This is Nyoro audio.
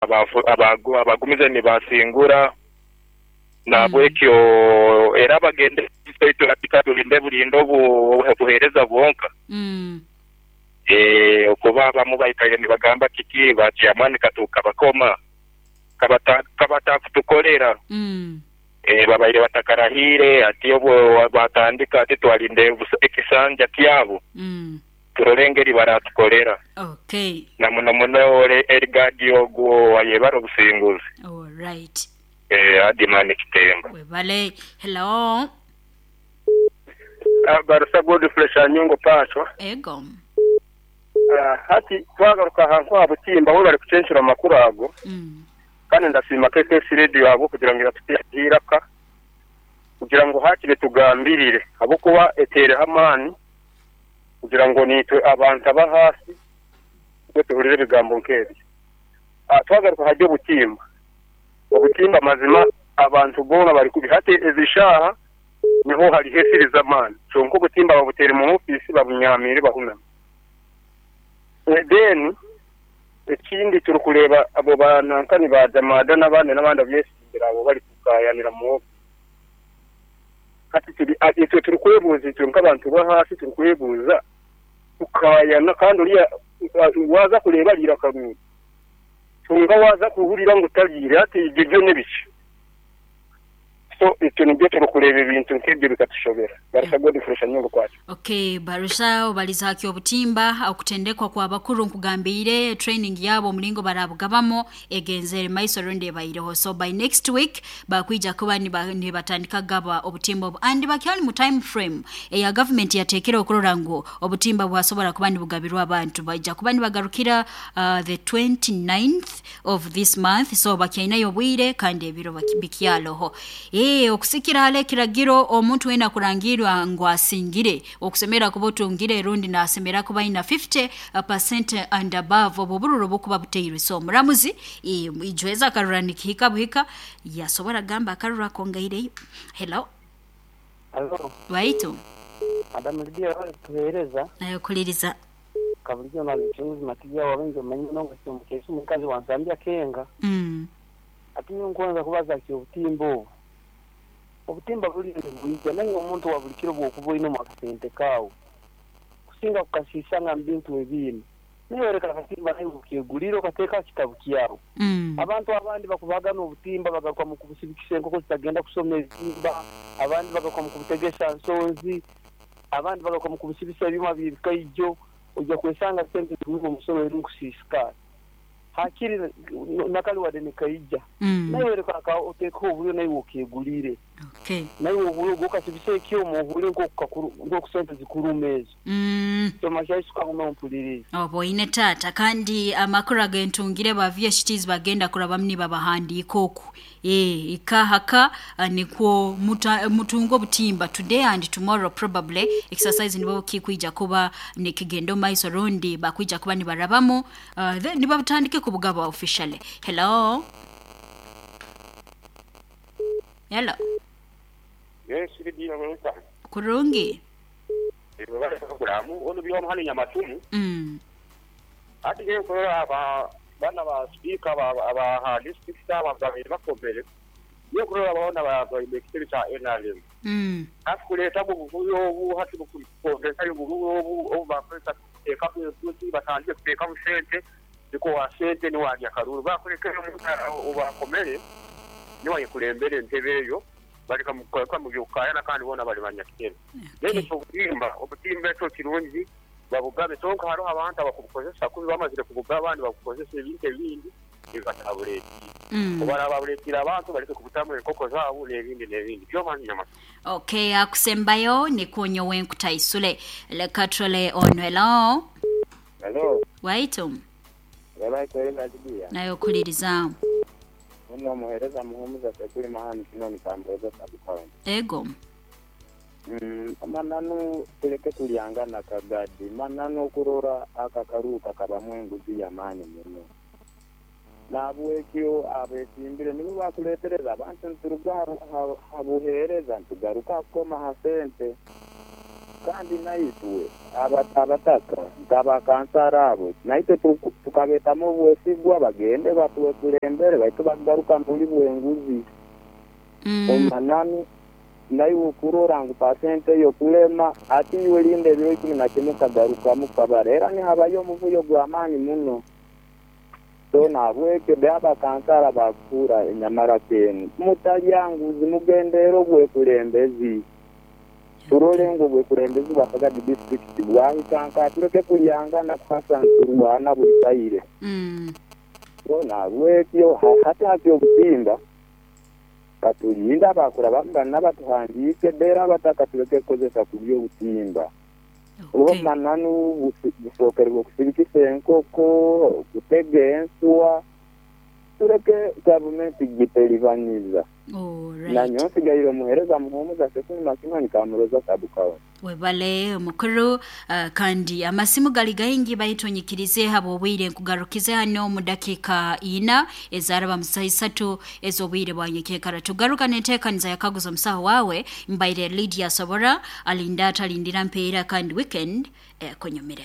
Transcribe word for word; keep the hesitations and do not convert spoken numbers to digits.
Abagumize nibasingura nabwekyo era bagende tulinde bulinde obuhereza bwonka kuba abamu baikaire nibagamba kiki ba chairman katukabakoma kabatakutukolera babaire batakarahiire ati obu batandika ati twalinda ekisanja kyabo turole engeri baratukolera. Okay. Na muno muno Erigadi ogwo ayebare obusinguzi. All right. Eh, Adimani Kitemba. Webale. Hello. Barusa Godfrey Shanyungo Pacho. Ego. Uh, hati twagaruka ahantu ha butimba aho bari kucenshura amakuru ago. Mm. Kandi ndasiima K K S Radio abo kugira ngu iratuteeraka kugira ngu hakire tugambirire ahabwokuba eteereho amaani kugira ngu nitwe abantu aba hasi twe tuhurire ebigambo nk'ebyo. Uh, twagaruka hajya obutimba. Obutimba mazima abantu boona bari kubi hati ezishaha niho hariho esiriza amaani. Kyonka obutimba babuteere mu ofiisi babunyamiire bahuname. Then ekindi turukureba abo banankani ba Jamada n'abandi n'abandi abyesimbira abo bari kukayanira mu ofiisi. Hati turi itwe turikwebuuza itwe nk'abantu bo hasi turikwebuuza tukayana kandi oriya waza kureeba ariire akarungi tunga waza kuhurira ngu tariire hati ibyo byo n'ebiki. So itwe nibyo turikureeba ebintu nk'ebyo bikatushobera. Barusha Godfrey Shanyungu Kwacho. Okay, Barusha obaliza haki obutimba okutendekwa kwa bakuru nkugambire training yabo omulingo barabugabamo egenzere maiso rundi ebaireho. So by next week bakwija kuba nibatandika gaba obutimba obu and bakyali mu time frame eya government yatekera okurora ngu obutimba bwasobora kuba nibugabirwa abantu baija kuba nibagarukira uh, the twenty-ninth of this month. So bakyainayo obwire kandi ebiro bikyaloho. Eh okusikira hale kiragiro omuntu wena kurangirwa ngu asingire okusemera kuba otungire rundi nasemera kuba ina fifty percent and above obwo bururo bukuba buteirwe. So omuramuzi ijweza akarura nikihika buhika yasobora gamba akarura kongaireyo. Hello. Hello. Waitu Madam Lydia tuhereza nayo kuliriza kabulijo na mchunguzi matija wabenjo manyi nongo kimukesha mukazi wansambya kenga mm ati nkonza kubaza ki obutimbo obutimba buli bwija naye omuntu wa buli kiro bwokuba oyina akasente kaawo kusinga kukasisa nga mbintu ebindi naye reka akatimba naye ukigulira okateeka kitabu kyawo. Mm. Abantu abandi bakubagana obutimba bagaruka mu kubusibikisa enkoko zitagenda kusoma ezimba, abandi bagaruka mu kubutegesa nsonzi, abandi bagaruka mu kubusibisa ebyuma by'ebikaijo ojja kwesanga sente ziri omusolo eri nkusisika hakiri nakali wadde nikaija. Mm. Naye reka oteeka obuyo naye okigulire. Okay. Naye obuyo gokasibisa ekyoma ohule nk'okusente zikuruma ezo. Mm. Tomashaisuka mumpulirize. Obo ine tata kandi amakuru agentungire ba V H Ts bagenda kuraba mni babahandiika oku. Eh ikahaka nikwo mutungo butimba today and tomorrow probably exercise nibo kikuija kuba nikigendo maiso rundi bakuija kuba nibarabamo uh, then nibatandike kubugaba officially. Hello. Hello. Yes, Lydia Mwansa. Kurungi. Kuramu ono byo hano Nyamatumu. Mm. Ati ngiye kurora aba bana ba speaker aba aba district aba bakomere. Ngiye kurora abana ba ekitebe kya N R M. Mm. Akuleta buvuyo obu hati bukukongresa y'obuvuyo obu obu bakweta eka kuzi batandike kuteeka busente niko wa sente ni wajya karuru bakureka obakomere ni wayikulembere entebe eyo barika mukweka mu byokayana kandi bona bali banyakitebe. Then obutimba obutimba ekyo kirungi babugabe tonka hariho abantu abakubukozesa kubi bamazire kubugaba abandi bakukozesa ebintu ebindi bibatabuleetire. Mm. Obarababuleetire abantu bareke kubutamu enkoko zaabo n'ebindi n'ebindi byomanyi nyama. Okay, akusembayo ni kunyo wenkutaisule lekatrole ono. Hello. Hello. Waitu. Wala kweli Lydia. Nayo kuliriza. Uno muhereza muhumuza sekuri mahani kino nikamboza sabukawe. Ego. Mm, mananu tuleke tuliangana kagadi mananu kurora akakaruka kabamu enguzi y'amaani muno. Nabwekyo abesimbire nibo bakuletereza abantu nturuga habuhereza ntugaruka kukoma ha sente. Kandi naitwe aba- abataka nk'abakansara abo naitwe tuku- tukabeetamu obwesigwa bagende batwekulembere baitu bagaruka mubuli bw'enguzi. Mm. Omananu naiwe okurora ngu pasente eyokulema ati iwe linda ebiro ikumi na kimwe kagarukamu kabara era nihabayo omuvuyo gw'amaani muno. So nahabwekyo be abakansara bakuura enyamara kenu mutalya nguzi, mugendeere obwekulembezi, turole ngu obwekulembezi bwa Kagadi district bwahika nka tureke kulyangana kuhasa nturwana buli kaire. Mm. So nahabwekyo ha- hati hati obutimba katulinde abakura bamugana batuhandiike dera abataka tureke kukozesa kulya obutimba. Okay. Obumananu busookerwe okusirikisa enkoko, okutega ensuwa, tureke gavumenti giteribaniza. Alright. Nanyowe nsigaire omuheereza Muhumuza Sekuni Makimani Kamuroza Sabukawa. Webale mukuru. uh, kandi amasimu gali gaingi baitu nyikirize habwobwire nkugarukize hano mu dakiika ina ezaraba mu saha isatu ez'obwire bwa nyekyekara. Tugaruka n'enteekaniza yakaguza omusaho wawe. Mbaire Lydia Sobora alinda atalindira mpeera kandi weekend eh, kunyumire.